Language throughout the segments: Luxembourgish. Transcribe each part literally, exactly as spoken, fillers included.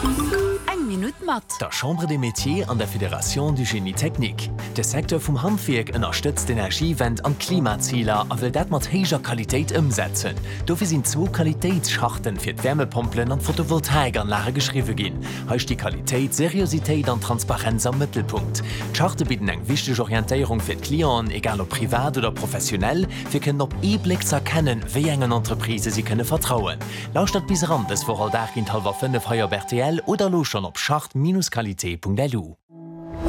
Eng Minutt mat. Der Chambre des Métiers an der Fédération du Génie Technique. De Secteur vum Handwierk ënnerstëtzt d'Energiewend an d'Klimaziler a wëll dat mat héijer Qualitéit ëmsetzen. Dofir sinn zwou Qualitéitscharten fir d'Wärmepompelen an d'Photovoltaikanlage geschriwwe ginn. Hei sti Qualitéit, Seriositéit an Transparenz am Mëttelpunkt. D'Charte bidden eng wichteg Orientéierung fir d'Clienten, egal ob privat oder professionell, fir kënnen op ee Bléck ze erkennen, wéi engen Entreprisë si kënne vertrauen. Lauschtert bis eran dës Woch all Dag géint hallwer fënnef hei op rtl oder elo schonn op charte-qualité.lu.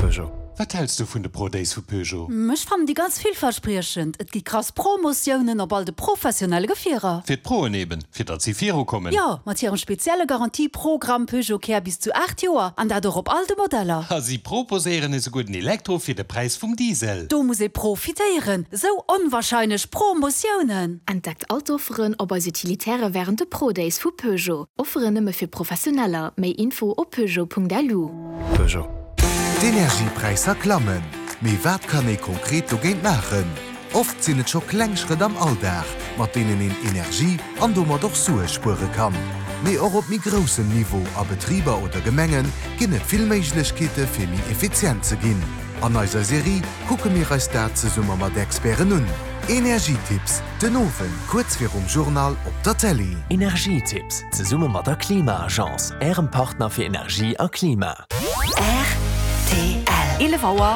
Peugeot. Wat häls du vun de Pro Days vu Peugeot? Ech fannen déi ganz villverspriechend. Et gi krass Promotiounen op all de professionelle Gefierer. Fir d'Proen eben, fir datt si virukommen. Jo, mat hirem spezielle Garantieprogramm Peugeot Care bis zu aacht Joer an dat och op all de Modeller. A si proposéieren esouguer den Elektro fir de Präis vum Diesel. Do muss ee profitéieren. Sou onwarscheinlech Promotiounen. Entdeckt all d'Offeren op eis Utilitaire wärend de Pro Days vu Peugeot. Offeren nëmme fir Professioneller. Méi Info op peugeot.lu. Peugeot. D'Energiepräisser klammen. Mee wat kann ee konkret dogéint maachen? Oft sinn et scho kleng Schrëtt am Alldag, mat deenen een Energie an domat och Sue spuere kann. Mee och op méi groussem Niveau, a Betriber oder Gemenge ginn et vill Méiglechkeete fir méi effizient ze ginn. An eiser Serie kucke mir eis dat zesumme mat Experten un. Energietipps, den Owend kuerz virum Journal op der Télé. Energietipps, zesumme mat der Klima-Agence, Ärem Partner fir Energie a Klima. Rtl. Eelef Auer.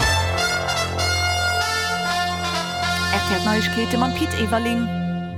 Rtl Neiegkeete mam Pit Everling.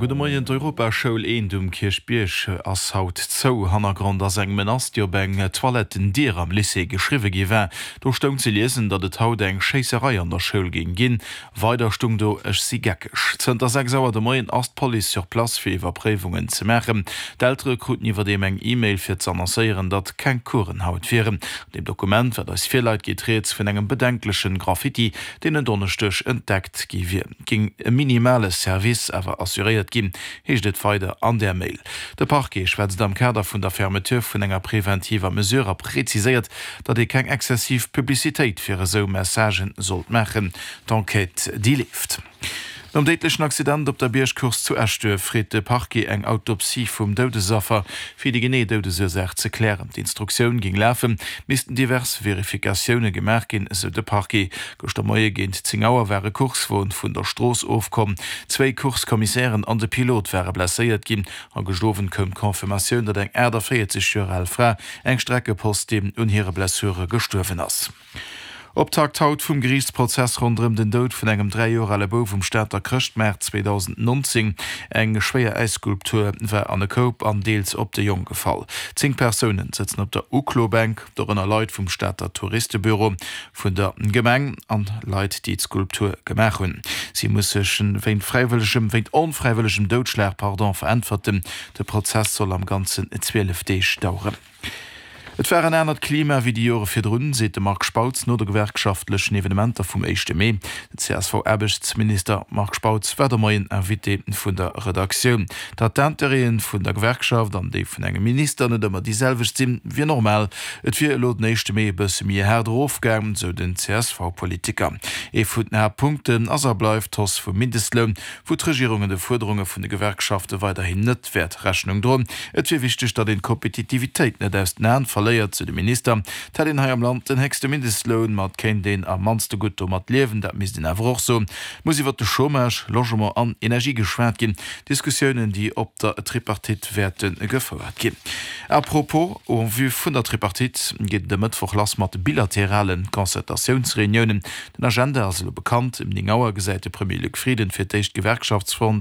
Gudde Moien, D'Europaschoul Eent um Kierchbierg ass haut zou. Hannergrond ass eng Menace, déi op eng Toilettendier am Lycée geschriwwe gi war. Do stoung ze liesen, datt et haut eng Schéisserei an der Schoul géing ginn. Weider stung do, Ech si geckeg. Zënter sechs Auer de Moien ass d'Police sur place fir Iwwerpréiwungen ze maachen. D'Eltere kruten iwwerdeem eng E-Mail fir ze annoncéieren, datt keng Coursen haut wieren. An deem Dokument, wat eis virläit, geet rieds vun engem bedenklechen Graffiti, deen en Donneschdeg entdeckt gi wier. Et géing e minimale Service awer assuréiert ginn, heescht et weider an där Mail. De Parquet schwätzt am Kader vun der Fermeture vun enger preventiver Mesure a präziséiert, datt ee keng exzessiv Publicitéit fir esou Messagen sollt maachen. D'Enquête, déi leeft. Nom déidlechen Accident op der Biergcourse zu Eschduerf freet de Parquet eng Autopsie vum Doudesaffer, fir déi genee Doudesursaach ze klären. D'Instruktioun géing lafen, missten divers Verifikatioune gemaach ginn, esou de Parquet. Gëschter Moie géint zéng Auer war e Coursewon vun der Strooss ofkomm. Zwéi Course-Commissairen an de Pilot ware blesséiert ginn. A gëscht Owend koum d'Confirmatioun, datt eng aachtavéierzeg Joer al Fra, eng Streckepostin, un hire Blessure gestuerwen ass. Optakt haut vum Geriichtsprozess ronderëm den Doud vun engem dräi Joer ale Bouf um Stater Chrëschtmaart zweedausendnonzéng. Eng schwéier Äisskulptur war an e Koup an deels op de Jong gefall. Zéng Persounen sëtzen op der Uklobänk, dorënner Leit vum Stater Touristebüro, vun der Gemeng an Leit, déi d'Skulptur gemaach hunn. Si muss sech wéint fräiwëllegem, wéint onfräiwëllegem Doudschlag, pardon, veräntwerten. De Prozess soll am Ganzen zwielef Deeg daueren. Et war en anert Klima wéi déi Jore virdrun, seet de Marc Spautz no de gewerkschaftlechen Evenementer vum éischte Mee. Den C S V-Aarbechtsminister Marc Spautz war de Moien Invité vun der Redaktioun. Datt d'Intérêten vun der Gewerkschaft an déi vun engem Minister net ëmmer déi selwecht sinn, wier normal. Et wier elo den éischte Mee e bësse méi haart erofgaangen, sou den C S V-Politiker. Ee vun den Haaptpunkten ass a bleift d'Hausse vum Mindestloun, wou d'Regierung de Fuerderunge vun de Gewerkschafte weiderhin net wäert Rechnung droen. Et wier wichteg, datt een d'Kompetitivitéit net aus den Aen verléiert, sou de Minister. Et hätt een hei am Land den héchste Mindestloun, ma et kéint een am mannste gutt domat liewen, dat misst een awer och soen. Et muss iwwert de Chômage, Logement an Energie geschwat ginn, Diskussiounen, déi op der Tripartite wäerte gefouert ginn. À propos, en vue vun der Tripartite geet et e Mëttwoch lass mat bilaterale Concertatiounsreuniounen. Den Agenda ass elo bekannt, Ëm néng Auer gesäit de Premier Luc Frieden fir d'éischt d'Gewerkschaftsfront